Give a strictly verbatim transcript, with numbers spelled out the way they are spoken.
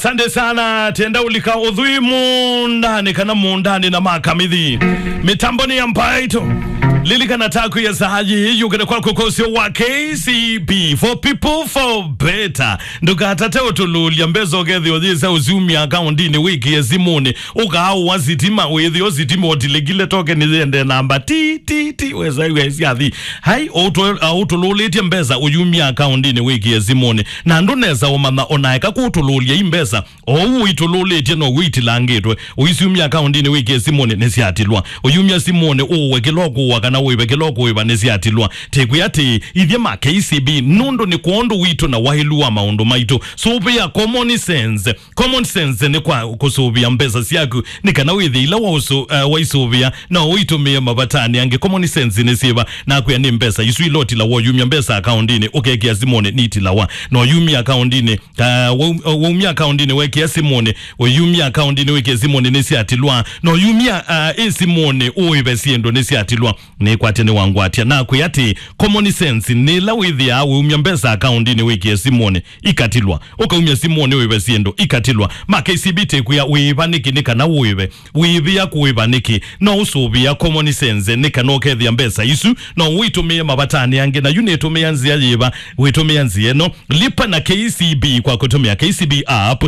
Sande sana, tenda ulika uthui mundani kana mundani na makamithi. Mitamboni ya Mbaito. Lilikana taku ya saa hii, yukene kwa kukosio wa K C B, for people, for better. Ndukatate utululia mbesa ukethio yisa usiumia akaundini wiki ya simuni. Ukaawa sitima, withio sitima utilikile toke ni yende namba ti, ti, ti, wesa iwe siathi. Hai, utu-, uh, utululitie mbesa uyumia akaundini wiki ya simuni. Na ndunesa umanya onaeka kutululia i mbesa. Ou ũitũlũlĩtye no wĩitilangĩtwe. Ũisiumya akaundinĩ wĩkĩe simũnĩ nĩsyatilwa. Ũyumya simũnĩ ũũwe kĩla ũkũũa kana ũĩve kĩla ũkũĩva nĩsyatilwa. Tĩkwĩa atĩ, ithyĩ ma K C B, nũndũ nĩ kwondũ witũ na waĩlu wa maũndũ maitũ. Sũvĩa common sense. Common sense nĩ kwa kũsũvĩa mbesa syaku, nĩ kana wĩthĩ ila waũsũ-, eh, waisũvĩa, no ũitũmĩe mavatanĩ angĩ. Common sense nĩ syĩva? Nakwĩa nĩ mbesa isu ila ũtilawa ũyumya mbesa akaundinĩ, ũkekĩa simũnĩ nitilawa. No ũyumya akaundinĩ, Ah, wau-, waumya akaundinĩ wekĩa simũnĩ, ũyumya akaundinĩ wĩkĩe simũnĩ nĩsyatilwa, na ũyumya, ah, ĩ simũnĩ ũĩve syĩndũ nĩsyatilwa. Nĩkwatya nĩwangwatya. Nakwĩa atĩ, common sense nĩ ĩla wĩthĩaa wĩumya mbesa akaundinĩ wĩkĩe simũnĩ, ikatilwa. Ũkaumya simũnĩ ũĩve syĩndũ, ikatilwa. Ma K C B tĩkwĩa wĩĩva nĩkĩ nĩ kana ũĩve. Wĩĩvĩa kũĩva nĩkĩ? No ũsũvĩa common sense nĩ kana ũkethĩa mbesa isu, no ũitũmĩe mavatanĩ angĩ. Na yu nĩtũmĩa nzĩa yĩva? Wĩtũmĩa nzĩa ĩno. Lipa na K C B kwa kũtũmĩa K C B app,